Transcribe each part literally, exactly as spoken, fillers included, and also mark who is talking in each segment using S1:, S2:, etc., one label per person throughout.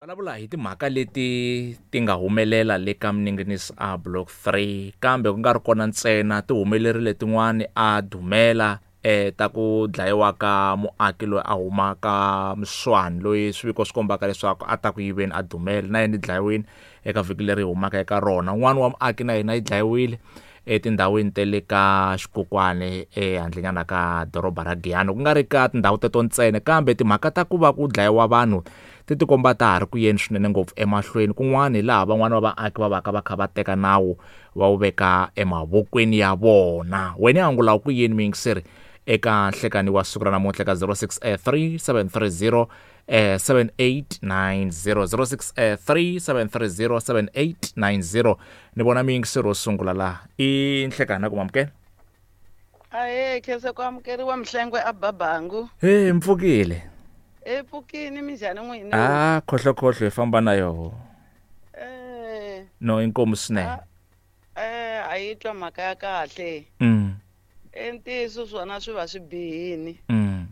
S1: Vulavula hi timhaka leti ti nga humelela le ka Mninginisi a block three, kambe ku nga ri kona ntsena, ti humelerile tin'wani a Dumela eh ta ku dlayiwa ka muaki loyi a huma ka Mswani, loyi swiviko swi kombaka leswaku a ta ku yiveni a Dumela, na yena i dlayiwile eka vhiki leri humaka eka rona. Un'wana wa muaki na yena yi dlayiwile etindhawini ta le ka Xikukwane ehandlenyana ka doroba ra Giyani. Ku nga ri ka tindhawu teto ntsena, kambe timhaka ta ku va ku dlayiwa vanhu ti tikomba ta ha ri ku yeni swinene ngopfu emahlweni. Kun'wana hi laha van'wana va vaaki va vaka va kha va teka nawu va wu veka emavokweni ya vona. Wena angula ku yini muyingiseri eka nhlekani wa siku ra namuntlha ka zero six three seven three zero seven eight nine zero, zero six three seven three zero seven eight nine zero. Ni vona muyingiseri wo sungula laha i nhlekani, ku mamukela.
S2: Ahee, khensa ku amukeriwa Mhlengwe a Babangu.
S1: He, mpfukile.
S2: E pfukini minjhani n'wina?
S1: Ah, khohlokhohlo hi famba na yoho.
S2: Eh.
S1: No, inkomu swinene.
S2: Eh, a yi twa mhaka ya kahle.
S1: Mm.
S2: Ntiyiso swona swi va swi bihini.
S1: Mm.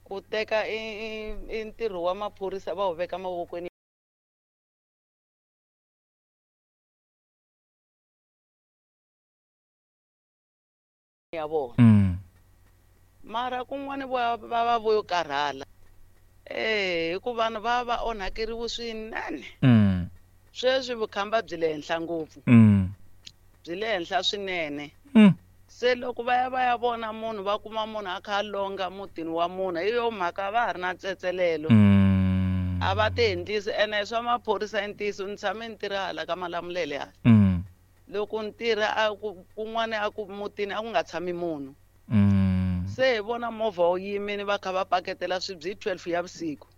S2: Ku teka i, i ntirho wa maphorisa va wu veka mavokweni ya vona.
S1: Mm.
S2: Mara kun'wana va va va vo karhala. Eh, hikuva vanhu va va onhakeriwe swinene.
S1: Mm.
S2: Sweswi vukhamba byi le henhla ngopfu.
S1: Mm.
S2: Byi le henhla swinene.
S1: Mm.
S2: Se loko va ya va ya vona munhu, va kuma munhu a kha a longa mutini wa munhu, hi yo mhaka va ha ri na ntsetselelo.
S1: Mm.
S2: A va ti endlisi, ene swa maphorisa i ntiyiso, ni tshame ni tirha hala ka Malamulele hala.
S1: Mm.
S2: Loko ni tirha a ku kun'wana a ku mutini a ku nga tshami munhu.
S1: Mm.
S2: Se hi vona movha wu yimile va kha va paketela swibye hi twelve ya vusiku.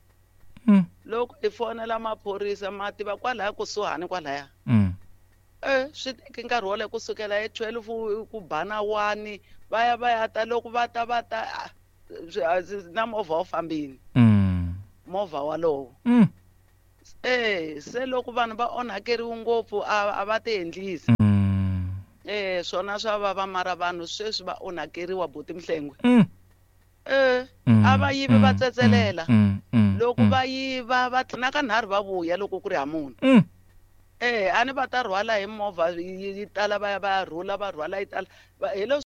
S1: Mm.
S2: Loko hi fonela maphorisa ma tiva kwalaya kusuhani kwalaya.
S1: Mm.
S2: Eh, swi teke nkarhi wo leha kusukela hi twelve ku ba na one, va ya va ya ta, loko va ta va ta, ah, na movha wu fambile.
S1: Mm.
S2: Movha walowo.
S1: Mm.
S2: Eh, se loko vanhu va onhakeriwe ngopfu a, a va ti endlisi.
S1: Mm.
S2: Eh, swona swa vava, mara vanhu sweswi va onhakeriwa buti Mhlengwe.
S1: Mm.
S2: Eh,
S1: Mm,
S2: a va yivi va
S1: mm,
S2: tsetselela.
S1: mm, mm,
S2: Loko
S1: mm.
S2: va yiva va tlhela ka nharhu va vuya loko ku ri ha munhu.
S1: Mm.
S2: Eh, a ni va ta rhwala hi movha yi, yi tala va ya va ya rhula, va rhwala yi tala. Va, hi leswi